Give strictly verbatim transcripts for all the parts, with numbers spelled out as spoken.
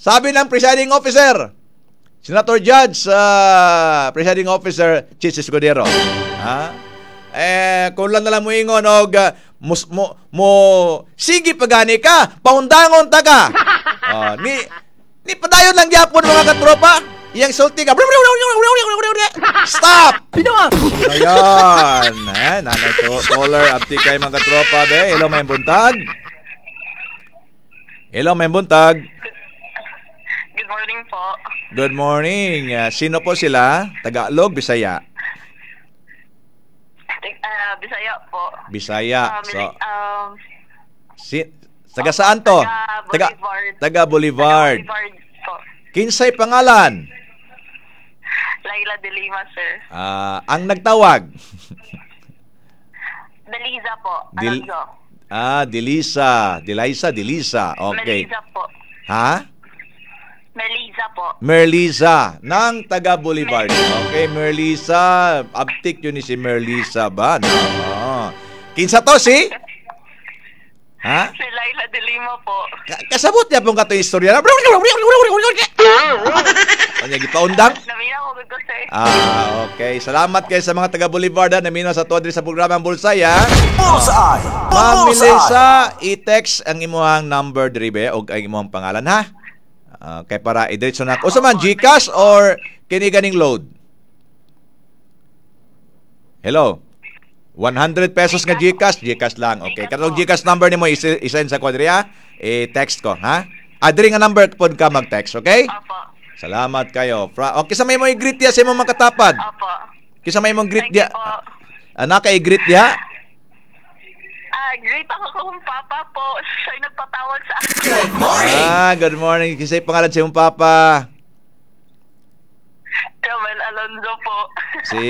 Sabi ng presiding officer, Senator Judge, uh, presiding officer Chiz Escudero. Ha? Eh, kung lang na lang mo ingon og uh, mus, mo, mo sige pagani ka, paundangon ta ka. Oh, ni ni padayon lang gyapon, mga katropa. Iyang sulti ka. Stop! Ayan. Eh, nanay to, caller, abti kay mga katropa be. Hello, may buntag. Hello, may buntag. Good morning po. Good morning. Uh, sino po sila? Tagalog, Bisaya? Uh, Bisaya po. Bisaya. Um, So, um, si, taga saan to? Taga Boulevard. Taga Boulevard. Taga Boulevard po. Kinsay pangalan? Laila de Lima, sir. Ah, ang nagtawag? Deliza po. Dil- Alonzo. Ah, Delisa. Delisa, Delisa. Okay. Meliza po. Ha? Meliza po. Merlisa ng taga Boulevard. Okay, Merlisa. Abtik yun ni si Merlisa ba? No. Oo. Kinsa to si? Ha? Si Laila de Lima po. Ka- kasabot niya pong kato istorya. Ano gipaundang? Naminaw ko ko, sir. Ah, okay. Salamat kayo sa mga taga Boulevard ha. Naminaw sa tuwa diri sa programa ang Bullseye ha. Bullseye! Ma'am Bullseye! Melissa, i-text ang imuhang number diri be og ang imuhang pangalan ha. Okay, para idiretso na. Usa man GCash or kini ganing load? Hello. one hundred pesos nga GCash, GCash lang. Okay, GCash katong po. GCash number nimo i- i-send sa kwadri ha. I-text ko ha. Ah, diri nga number pod ka mag-text, okay? Opo. Salamat kayo. Fra okay, sa may mo i-greet diya sa imong mga katapad. Opo. Kisa may mong greet Thank you diya. po. Anak kay i-greet diya. Ah, greet ako kung papa po. Siya'y nagpatawag sa akin. Ah, good morning. Kisay pangalan sa imong papa? Romel Alonzo po. Si,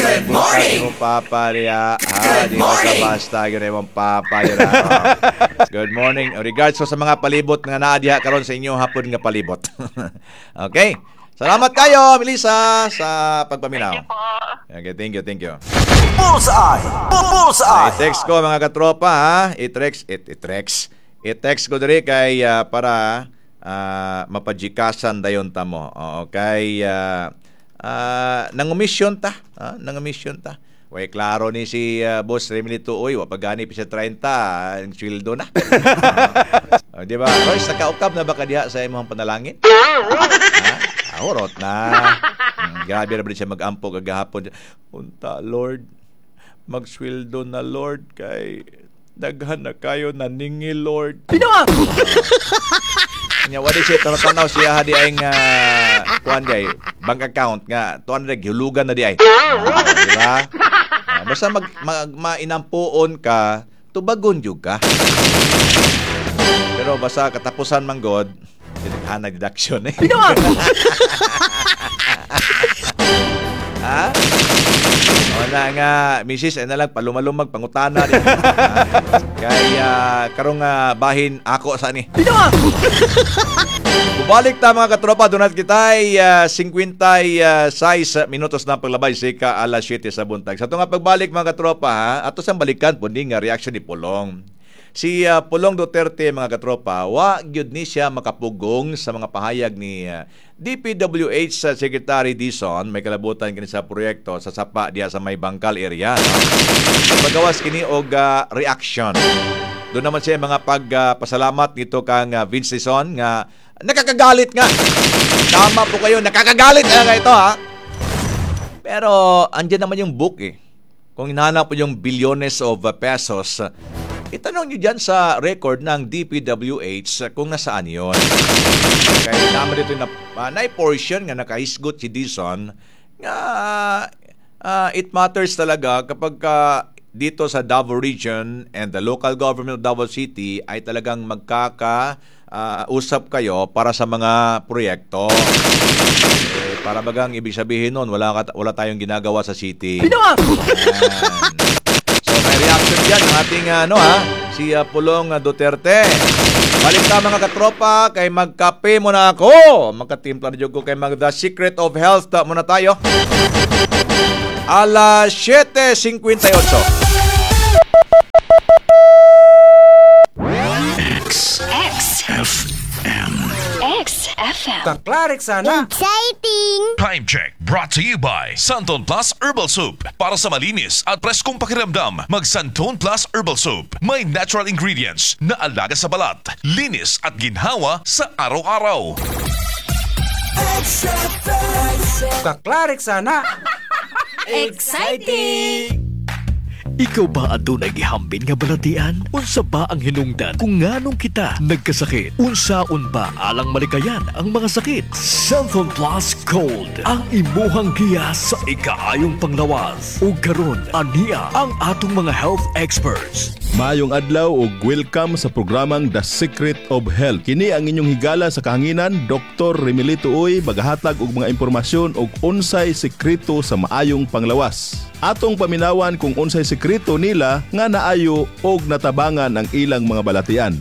may buntag imong papa diya. Ah, di basta basta gyud imong papa diya. Oh. Good morning. Regards ko sa mga palibot nga naa diha karon sa inyong hapon nga palibot. Okay. Salamat kayo, Melissa, sa pagpaminaw. Thank you po. Okay, thank you, thank you. Bullseye! Bullseye! I-text ko, mga katropa ha. I-text, it, i-text. I-text ko diri kay ah, para uh, mapajikasan dayon ta mo. Oo, kay uh, uh, nangumisyon ta, ha? Nangumisyon ta. Way klaro ni si ah, Boss Remily Tuoy, wa pa gani pa siya trenta, ang sweldo na. Oh, di ba? Royce, nakaukab na ba ka diha sa imong panalangin? Ha? Ah, hurot na. Hmm, grabe na ba siya mag-ampo kagahapon. Unta, Lord, magsweldo na, Lord, kay daghan na kayo naningi, Lord. Pino! Nya wala siya tanaw siya ha di ay nga kuan di ay bank account nga two hundred gihulugan na di ay. Ah, di ba? Ah, basta mag, mag mainampuon ka, tubagon jud ka. Pero basta katapusan man god, dinaghanag deduction eh. Ha? O na nga, misis, ay na lang, palumalumag, pangutana. Di. Kaya, karong uh, bahin ako sa ni. Bubalik ta, mga katropa, dunat kita ay uh, singkwenta y sais minutos na paglabay sika alas siyete sa buntag. Sa nga pagbalik, mga katropa, ha, ato sang balikan po ni nga reaction ni Pulong. Si uh, Pulong Duterte, mga katropa, wa gyud ni siya makapugong sa mga pahayag ni uh, D P W H sa Secretary Dizon may kalabutan kini sa proyekto sa sapa diha sa may Bangkal area. No? Pagawas kini og uh, reaction. Doon naman siya mga pagpasalamat nito kang uh, Vince Dizon nga nakakagalit nga. Tama po kayo, nakakagalit nga ito ha. Pero andyan naman yung book eh. Kung hinahanap po yung bilyones of uh, pesos, uh, itanong nyo dyan sa record ng D P W H uh, kung nasaan yon. Kaya naman dito na uh, na portion nga nakahisgot si Dizon nga uh, it matters talaga kapag ka dito sa Davao Region and the local government of Davao City ay talagang magkaka uh, usap kayo para sa mga proyekto. Eh, para bagang ibig sabihin nun, wala, ka, wala tayong ginagawa sa city. Yan. So may reaction dyan ng ating ano ha, si uh, Pulong Duterte. Balik ta, mga katropa, kay magkape muna ako. Magkatimpla na jud ko kay mag The Secret of Health ta muna tayo. Alas siyete singkwenta y otso. X. F M. X F M. Kaklarik sana. Exciting! Time check brought to you by Santon Plus Herbal Soup. Para sa malinis at preskong pakiramdam, mag Santon Plus Herbal Soup. May natural ingredients na alaga sa balat, linis at ginhawa sa araw-araw. Kaklarik sana. Exciting! Ikaw ba adunay gihambin nga balatian? Unsa ba ang hinungdan kung nganong kita nagkasakit? Unsaon ba alang malikayan ang mga sakit? Xanthone Plus Gold ang imuhang giya sa ikaayong panglawas. Ug karon ania ang atong mga health experts. Maayong adlaw ug welcome sa programang The Secret of Health. Kini ang inyong higala sa kahanginan, Doctor Remilito Uy, magahatag og mga impormasyon og unsay sekreto sa maayong panglawas. Atong paminawan kung unsay sekreto nila nga naayo og natabangan ang ilang mga balatian.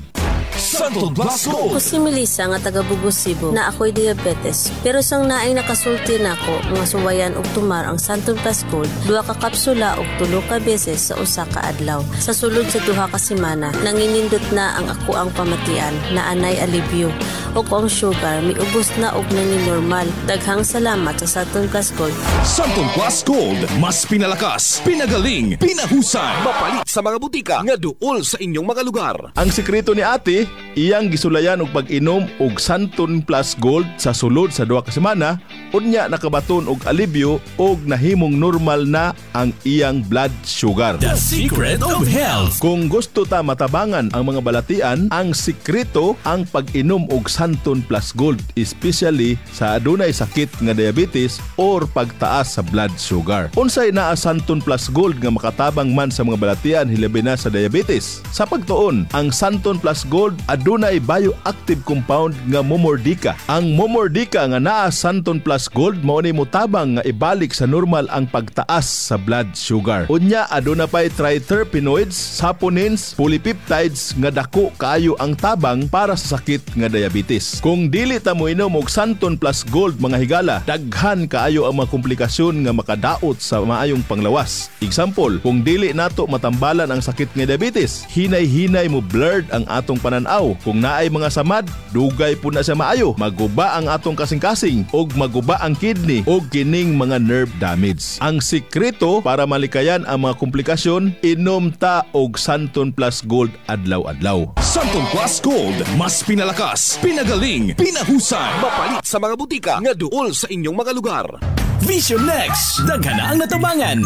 Santon Plus Gold. Ako si Melissa nga taga Bugo, Cebu, na ako'y diabetes. Pero sang naay nakasulti nako nga suwayan og tumar ang Santon Plus Gold, duha ka kapsula og tulo ka beses sa usa ka adlaw. Sa sulod sa duha ka semana, nanginindot na ang ako ang pamatian na anay alibyo. Ug ang sugar miubos na og nangin normal. Daghang salamat sa Santon Plus Gold. Santon Plus Gold. Mas pinalakas, pinagaling, pinahusay. Mapalit sa mga butika nga duol sa inyong mga lugar. Ang sekreto ni ate, iyang gisulayan og pag-inom og Santon Plus Gold sa sulod sa duha ka semana, unya nakabaton og alibyo og nahimong normal na ang iyang blood sugar. The Secret of Health. Kung gusto ta matabangan ang mga balatian, ang sikreto ang pag-inom og Santon Plus Gold, especially sa adunay sakit nga diabetes or pagtaas sa blood sugar. Unsay naa Santon Plus Gold nga makatabang man sa mga balatian, hilabi na sa diabetes? Sa pagtuon, ang Santon Plus Gold adunay bioactive compound nga Momordica. Ang Momordica nga naa Santon Plus Gold mao ni motabang nga ibalik sa normal ang pagtaas sa blood sugar. Unya, aduna pay triterpenoids, saponins, polypeptides nga dako kaayo ang tabang para sa sakit nga diabetes. Kung dili ta moinom og Santon Plus Gold, mga higala, daghan kaayo ang mga komplikasyon nga makadaot sa maayong panglawas. Example, kung dili nato matambalan ang sakit nga diabetes, hinay-hinay mo blurred ang atong pananaw. Kung naay mga samad, dugay po na siya maayo. Maguba ang atong kasing-kasing og maguba ang kidney og kining mga nerve damage. Ang sikreto para malikayan ang mga komplikasyon, inom ta og Santon Plus Gold adlaw-adlaw. Santon Plus Gold. Mas pinalakas, pinagaling, pinahusay. Mapalit sa mga butika nga duol sa inyong mga lugar. Vision Next. Daghan na ang natabangan.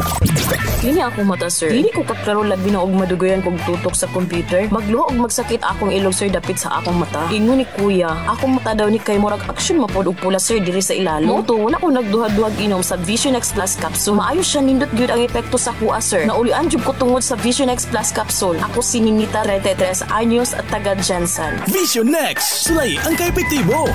Kini akong mata, sir. Dili ko kaklaro, labi na og madugayan kog tutok sa computer. Magluha og magsakit akong ilong, sir, dapit sa akong mata. Ingon ni kuya, akong mata daw ni kay murag action mapod og pula, sir, diri sa ilalo. Mao to wala ko nagduha-duhag inom sa Vision X Plus capsule. Maayo siya, nindot gyud ang epekto sa kuha, sir. Naulian jud ko tungod sa Vision X Plus capsule. Ako si Ninita, trentay tres anyos at taga Jensen. Vision Next. Sulay ang kaepektibo.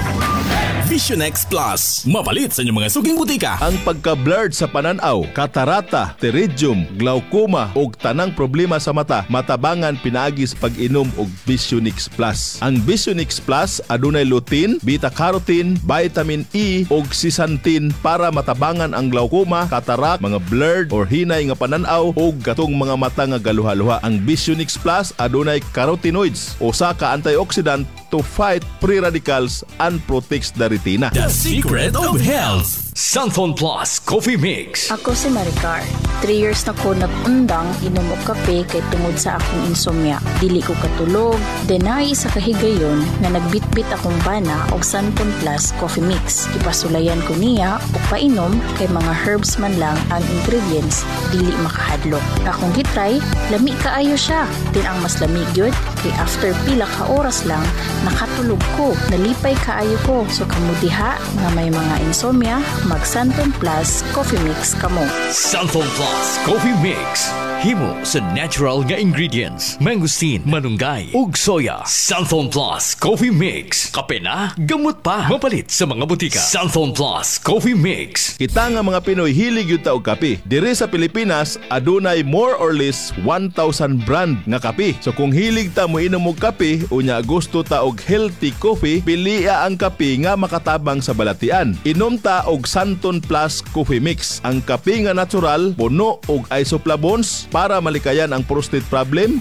Vision X Plus. Mapalit sa inyong mga suking butika. Ang pagka-blurred sa pananaw, katarata, pterygium, glaucoma ug tanang problema sa mata matabangan pinaagi sa pag-inom og Visionix Plus. Ang Visionix Plus adunay lutein, beta-carotene, vitamin E ug zeaxanthin para matabangan ang glaucoma, cataract, mga blurred or hinay nga pananaw ug katong mga mata nga galuha-luha. Ang Visionix Plus adunay carotenoids, usa ka antioxidant to fight free radicals and protects the retina. The Secret of Health. Santon Plus Coffee Mix. Ako si Maricar. Three years na ko nag-undang inom og kape kay tungod sa akong insomnia. Dili ko katulog. Then naay isa ka higayon nga nagbitbit akong bana og Santon Plus Coffee Mix. Ipasulayan ko niya og painom kay mga herbs man lang ang ingredients, dili makahadlok. Akong gitry, lami kaayo siya. Then ang mas lami gyud kay after pila ka oras lang nakatulog ko. Nalipay kaayo ko. So kamo diha nga may mga insomnia, mag Santon Plus Coffee Mix kamo. Santon Plus Coffee Mix. Himo sa natural nga ingredients. Mangosteen, malunggay, ug soya. Santon Plus Coffee Mix. Kape na, gamot pa. Mapalit sa mga butika. Santon Plus Coffee Mix. Kita nga mga Pinoy, hilig gyud ta og kape. Diri sa Pilipinas, adunay more or less one thousand brand nga kape. So kung hilig ta mo inom og kape, unya gusto ta og healthy coffee, pilia ang kape nga makatabang sa balatian. Inom ta og Santon Plus Coffee Mix. Ang kape nga natural, puno og isoflavones para malikayan ang prostate problem.